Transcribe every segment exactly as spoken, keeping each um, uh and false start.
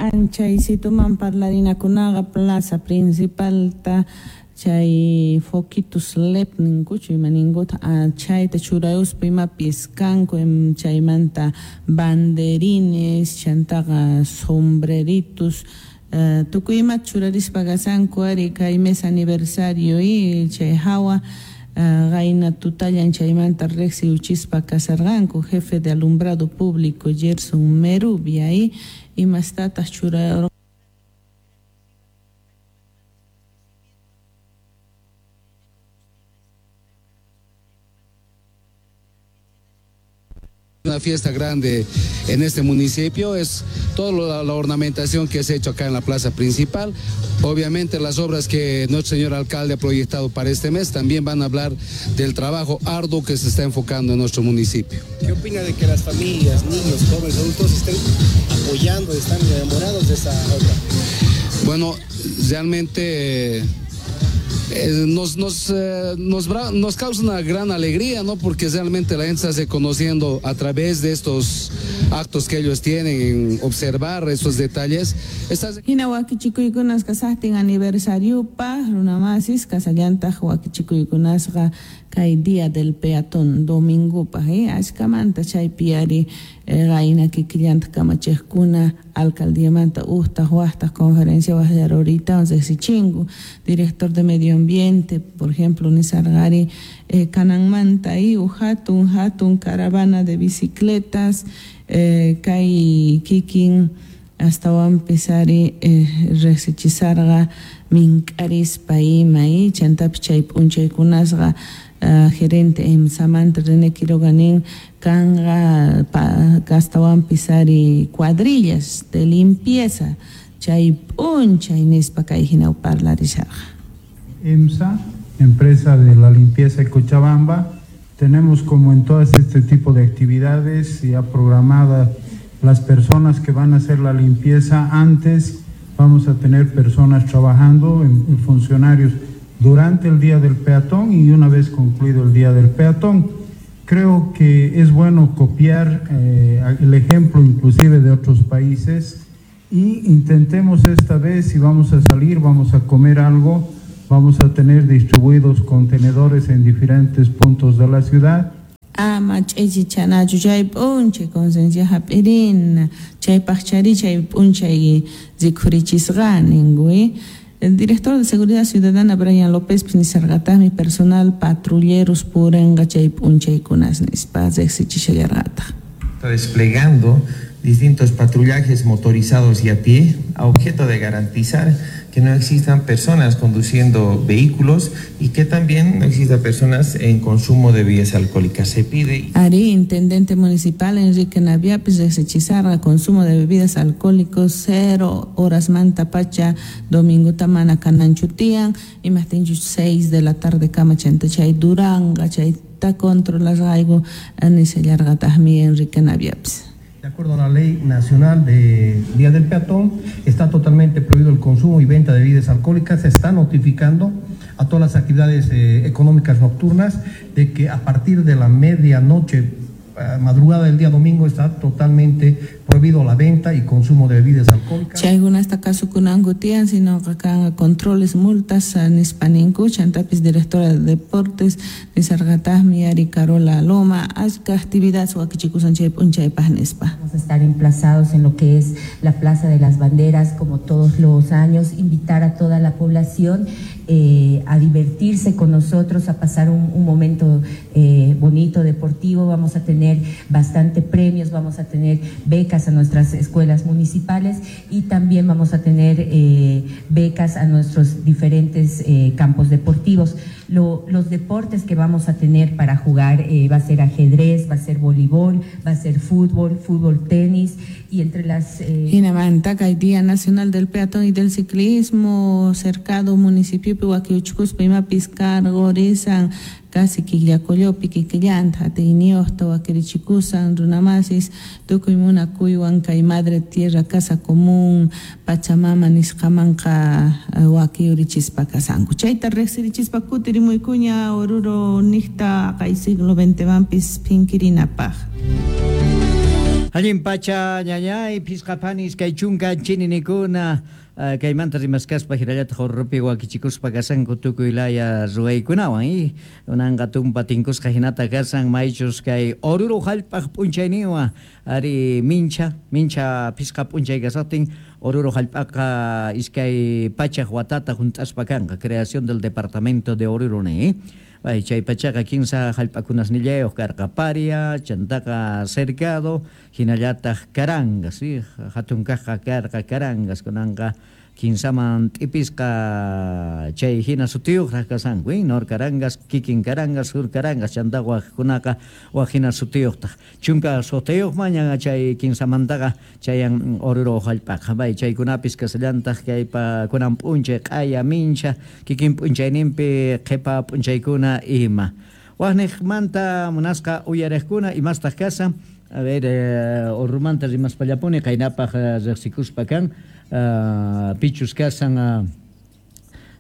Anchaysituman parlarinakunaqa plaza principalta chay foquitos L E D ninkuchu ima ninkuta chayta churayuspa imapis kanku chaymanta banderines chantaqa sombreritos uh, tukuy ima churarispa kasanku ari kay mes aniversario y chay hawa qayna uh, tutallan chaymanta riqsiuchispa kasarqanku jefe de alumbrado público Gerson Merubia y imastataq churayurqa. Una fiesta grande en este municipio, es toda la, la ornamentación que se ha hecho acá en la plaza principal. Obviamente las obras que nuestro señor alcalde ha proyectado para este mes también van a hablar del trabajo arduo que se está enfocando en nuestro municipio. ¿Qué opina de que las familias, niños, jóvenes, adultos estén apoyando, están enamorados de esa obra? Bueno, realmente... Eh, nos, nos, eh, nos, nos causa una gran alegría, ¿no? Porque realmente la gente se hace conociendo a través de estos actos que ellos tienen, en observar estos detalles. Estas... Hina wakichikuykunas kasaqtin aniversariupaq runamasis kasallantaq wakichikuykunasqa kay día del peatón domingupaq eh? Ashkamanta chaypi ari qayna kikillantaq kamachiqkuna alcaldiamanta uhtaq waqtaq conferencia waqllaruritawan riqsichinku director de medio ambiente por ejemplo nisarqari eh, kananmanta y hatun hatun caravana de bicicletas eh, kay kikin astawanpis ari eh, riqsichisarqa mink'arispa ima y chantapis chay p'unchaykunasqa Uh, gerente EMSAmanta René Quiroga nin kanqa astawanpis ari cuadrillas de limpieza chay p'unchay nispa kay hina parlarisharqa. EMSA, empresa de la limpieza de Cochabamba, tenemos como en todas este tipo de actividades ya programadas las personas que van a hacer la limpieza antes, vamos a tener personas trabajando, en, en funcionarios durante el día del peatón y una vez concluido el día del peatón. Creo que es bueno copiar eh, el ejemplo inclusive de otros países y intentemos esta vez, si vamos a salir, vamos a comer algo, vamos a tener distribuidos contenedores en diferentes puntos de la ciudad. Ama ch'ichichanachu chay p'unchay conciencia hap'irina chaypaq chari chay p'unchay rikhurichisqa ninku. El director de Seguridad Ciudadana Brian López nisarqataqmi personal patrulleros purinqa chay p'unchaykunas nispa riqsichishallarqataq. Está desplegando distintos patrullajes motorizados y a pie a objeto de garantizar que no existan personas conduciendo vehículos y que también no existan personas en consumo de bebidas alcohólicas. Se pide... Ari, intendente municipal Enrique Naviapis riqsichisarqa consumo de bebidas alcohólicos cero horas manta pacha domingo tamana kananchutian imaqtinchus seis de la tarde kama chanta chay duranga chayta controlasqayku nishallarqataqmi Enrique Naviapis. De acuerdo a la Ley Nacional de Día del Peatón, está totalmente prohibido el consumo y venta de bebidas alcohólicas. Se está notificando a todas las actividades eh, económicas nocturnas de que a partir de la medianoche, eh, madrugada del día domingo, está totalmente prohibido la venta y consumo de bebidas alcohólicas. Chaykunasta kasukunanku tiyan, sino kanqa controles, multas nispa ninku. Chantapis directora de deportes nisarqataqmi ari Carola Loma achka actividad wakichikusan chay p'unchaypaq nispa. Vamos a estar emplazados en lo que es la Plaza de las Banderas como todos los años, invitar a toda la población eh, a divertirse con nosotros, a pasar un, un momento eh, bonito, deportivo. Vamos a tener bastante premios, vamos a tener becas a nuestras escuelas municipales y también vamos a tener eh, becas a nuestros diferentes eh, campos deportivos. Lo, los deportes que vamos a tener para jugar eh, va a ser ajedrez, va a ser voleibol, va a ser fútbol, fútbol, tenis y entre las... Eh... Hinamanta kay Día Nacional del Peatón y del Ciclismo, cercado municipio wakiuchkuspa imapis cargorisan casi killakollopi kikillanta atiyniyuqta wakirichikusan runamasis tukuy munakuywan kay madre tierra casa común pachamama nisqamanqa wakiyurichispa kasanku. Chayta riqsirichispa kutirimuykuña Oruro niqta kay siglo veintemanpis phinkirinapaq. Allin pacha ñañay phisqapani iskay chunka chininikuna kaymanta rimaskaspa hinallataq Oruropi wakichikuspa kasanku tukuy laya ruwaykunawan y unanqa tumpa tinkusqa hinata kasan maychus kay Oruro hallp'aq p'unchayninwan ari mincha mincha phisqa p'unchay kasaqtin Oruro hallp'aqa iskay pachaq watata hunt'aspa kanqa creación del departamento de Oruro ni. Ay, chay pachaqa kinsa hallp'akunasnillayuq karqa Paria, chantaqa Cercado, hinallataq Carangas, ¿sí? Hatun kaqqa karqa Carangas, kunanqa kinsaman t'ipisqa chay hina sutiyuqraq kasanku, ¿eh? Nor Carangas, kikin Carangas, sur Carangas, chantaqa waqkunaqa waq hina sutiyuqtaq. Chunka suqtayuq mañan chay kinsamantaqa chayan Oruro hallp'aqa. Bay chaykunapis kasallantaq kaypa kunan p'unchay q'aya mincha, kikin p'unchayninpi qhipa p'unchaykuna ima. Waqniqmanta munasqa uyariqkuna imastaq kasan. A ver, eh, Orurumanta rimaspallapuni qaynapaq riqsikuspa kan uh, pichus kasan uh,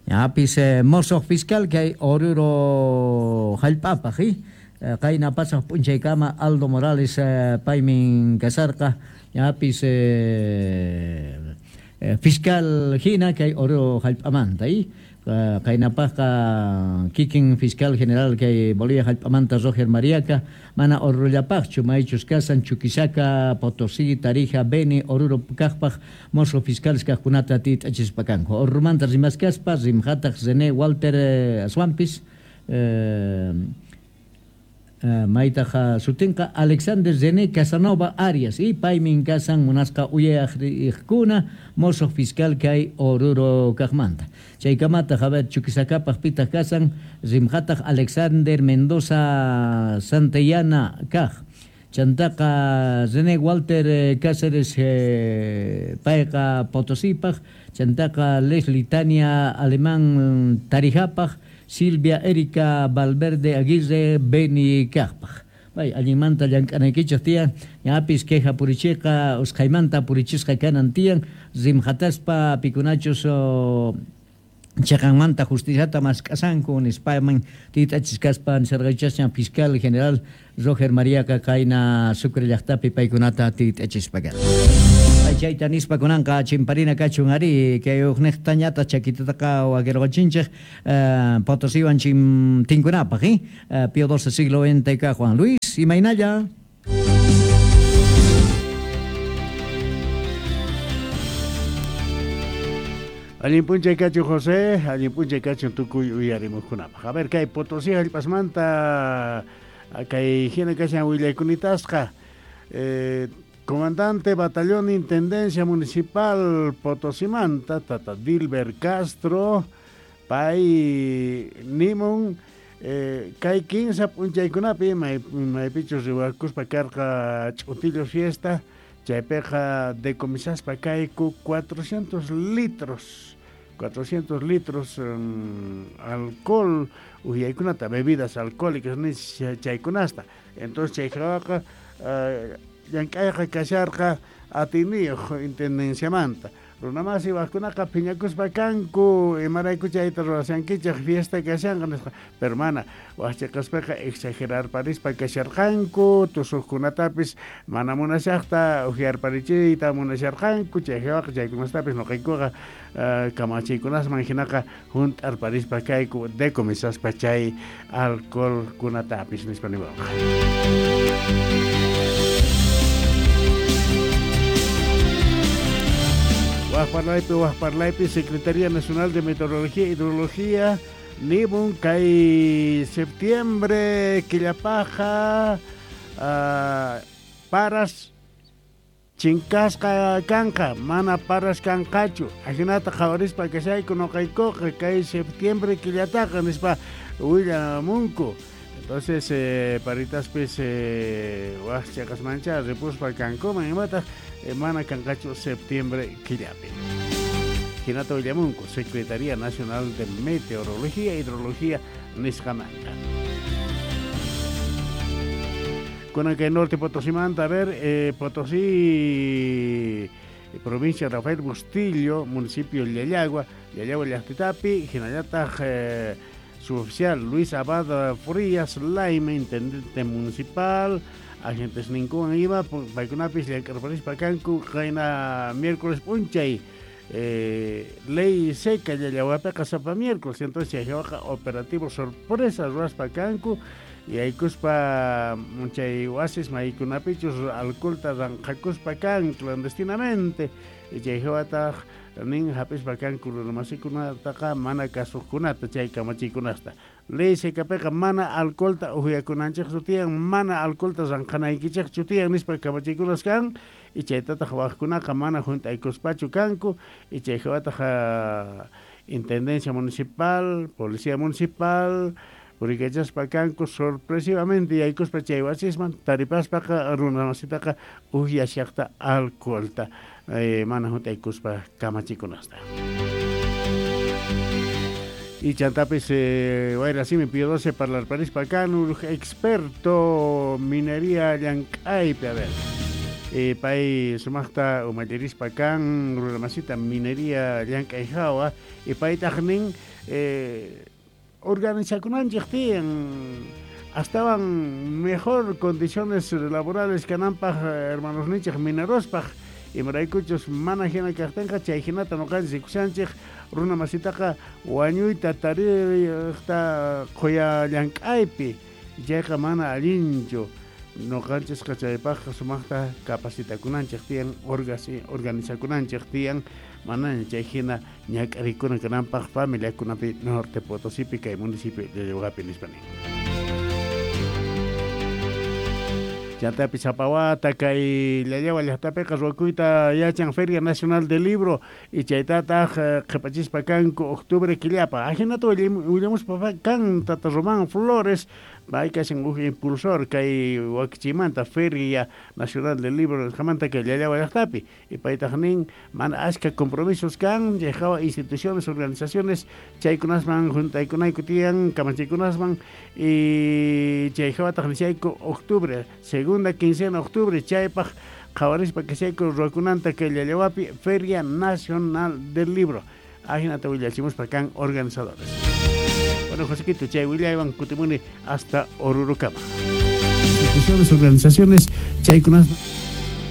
apis eh, mosoq fiscal kay Oruro hallp'apaq eh? Qayna pasaq p'unchaykama Aldo Morales eh, paymin kasarqa apis eh, fiscal hina kay Oruro hallp'amanta eh? Qaynapaqqa kikin fiscal general kay Bolivia hallp'amanta Roger Mariaca mana Orurollapaqchu maychus kasan Chuquisaca, Potosí, Tarija, Beni, Oruro kaqpaq mozo fiscales kaqkunata tit'achispa kanku. Oruromanta rimaskaspa rimqataq René Walter eh, Aswampis eh, Uh, maytaqa sutinqa Alexander René Casanova Arias y paymin kasan munasqa uyayaqriqkuna mozo fiscal kay Oruro kaqmanta. Chaykamataq a ver Chuquisacapaq pitaq kasan rimqataq Alexander Mendoza Santillana kaq. Chantaqa René Walter Cáceres eh, payqa Potosípaq, chantaqa Leslie Tania Alemán Tarijapaq, Silvia Erika Valverde Aguirre Beni Kaqpaq. Bay, allinmanta llank'anaykichaq tiyan, ñapis queja purichiqa, usqhaymanta purichisqa kanan tiyan, rimqataspa pikunachus oh, chaqanmanta justiciata mask'asanku nispaman tit'achiskaspa nisarqaychasña fiscal general Roger Mariaca qayna Sucre llaqtapi paykunata tit'achispa kan. Chayta nispa kunanqa chimparina kachun ari kay uqniqtañata chakitataqa wakirqachinchik uh, Potosíwan chim tinkunapaq eh? uh, Pío doce siglo veinte ka Juan Luis imaynalla. Allin p'unchay kachu José, allin p'unchay kachun tukuy uyarimuqkunapaq. A ver kay Potosí hallp'asmanta kay hina kashan willaykunatasqa eh, Comandante Batallón Intendencia Municipal Potosimanta, Tata Dilber Castro, pay nimun, eh, kay kinsa p'unchaykunapi may maypichus riwakuspa karqa ch'utillo fiesta, chaypiqa decomisaspa kayku cuatrocientos litros, cuatrocientos litros um, alcohol, uhyaykunata, bebidas alcohólicas nis chaykunasta. Entonces chayqaqa uh, llank'ayqa kasharqa atiniyuq intendenciamanta. Runamasi waqkunaqa phiñakuspa kanku imarayku chayta ruwashankichaq fiesta kashanqa nisqa. Pero mana waqchiqaspaqa exagerarparispa kasharqanku tusuqkunatapis mana munashaqta uhyarparichiyta munasharqanku chayqa chaykunastapis nuqaykuqa uh, kamachiykunasman hinaqa hunt'arparispa kayku decomisaspa chay alcoholkunatapis nispa niwanqa. Wajparlaypi, Wajparlaypi, Secretaría Nacional de Meteorología e Hidrología, nimun kay septiembre, killapaja, uh, paras, chinkasqa kanqa, mana paras kanqachu, ajinata qhawarispa kashayku nuqaykuqa kay septiembre killataqa nispa willamunku. Entonces, eh, paritaspis eh, waqchaqasmancha ripuspa kankuman imataq eh, mana kanqachu septiembre killapi. Hinata willamunku, Secretaría Nacional de Meteorología e Hidrología nisqamanta. Kunan kay norte Potosimanta, a ver, eh, Potosí, provincia Rafael Bustillo, municipio Llallagua, Llallagua llaqtitapi, hinallataq eh, suboficial Luis Abad Frías Laime, intendente municipal, Agentes ninkuwan ima paykunapis llank'arparispa kanku qayna miércoles p'unchay eh, ley seca llallawapiqa sapa miércoles entonces chayqa operativo sorpresa ruwaspa kanku y aykuspa chay wasis maykunapichus alcoholta ranqakuspa kan clandestinamente y chayhawataq nin hap'ispa kanku runamasikunataqa mana kasuqkunata chay kamachiykunasta ley secapiqa mana alcoholta uhiyakunanchikchu tiyan mana alcoholta ranqanaykichikchu tiyan nispa kamachiykunas kan y chaytataq waqkunaqa mana junt'aykuspachu kanku y chayhawataq intendencia municipal, policía municipal purikachaspa kanku sorpresivamente yaykuspa chay wasisman taripaspaqa runamasitaqa uhyashaqta alcoholta eh, mana junt'aykuspa kamachikunasta. Y chantapis eh, wayrasimi Pío doce parlarparispa kan experto minería llank'aypi a ver eh, pay sumaqta umallirispa kan runamasita minería llank'ay hawa y paytaq nin eh, organizakunanchik tiyan astawan mejor condiciones laborales kananpaq hermanos nichik minerospaq imaraykuchus mana hina kaqtinqa chay hinata nuqanchik rikushanchik runa masitaqa wañuyta tariqta quya llank'aypi chayqa mana allinchu nuqanchisqa chaypaqqa sumaqta capacitakunanchik tiyan organizakunanchik tiyan manaña chay hina ñak'arikuna kananpaq familiakunapi Norte Potosipi kay municipio de Llallawqapi nispa nin. Chantapi Zapawata kay Llallawa llaqtapiqa ruwakuyta yachan Feria Nacional del Libro y chaytataq qhipachispa kanku octubre killapa ajinata willamuspa kan tata Román Flores pay kashan huk impulsor kay wakichimanta Feria Nacional del Libro nisqamanta kay Llallawa llaqtapi y paytaq nin mana ashka compromisos kan chayhawa instituciones organizaciones chaykunasman juntaykunayku tiyan kamachiykunasman y chayhawataq nishayku octubre segunda quincena de octubre chaypaq qhawarispa kashayku ruwakunanta kay Llallawapi Feria Nacional del Libro ajinata willachimuspa kan organizadores. Bueno, Josequito, chay willaywan kutimuni hasta Orurukama. Instituciones, organizaciones, chaykunas.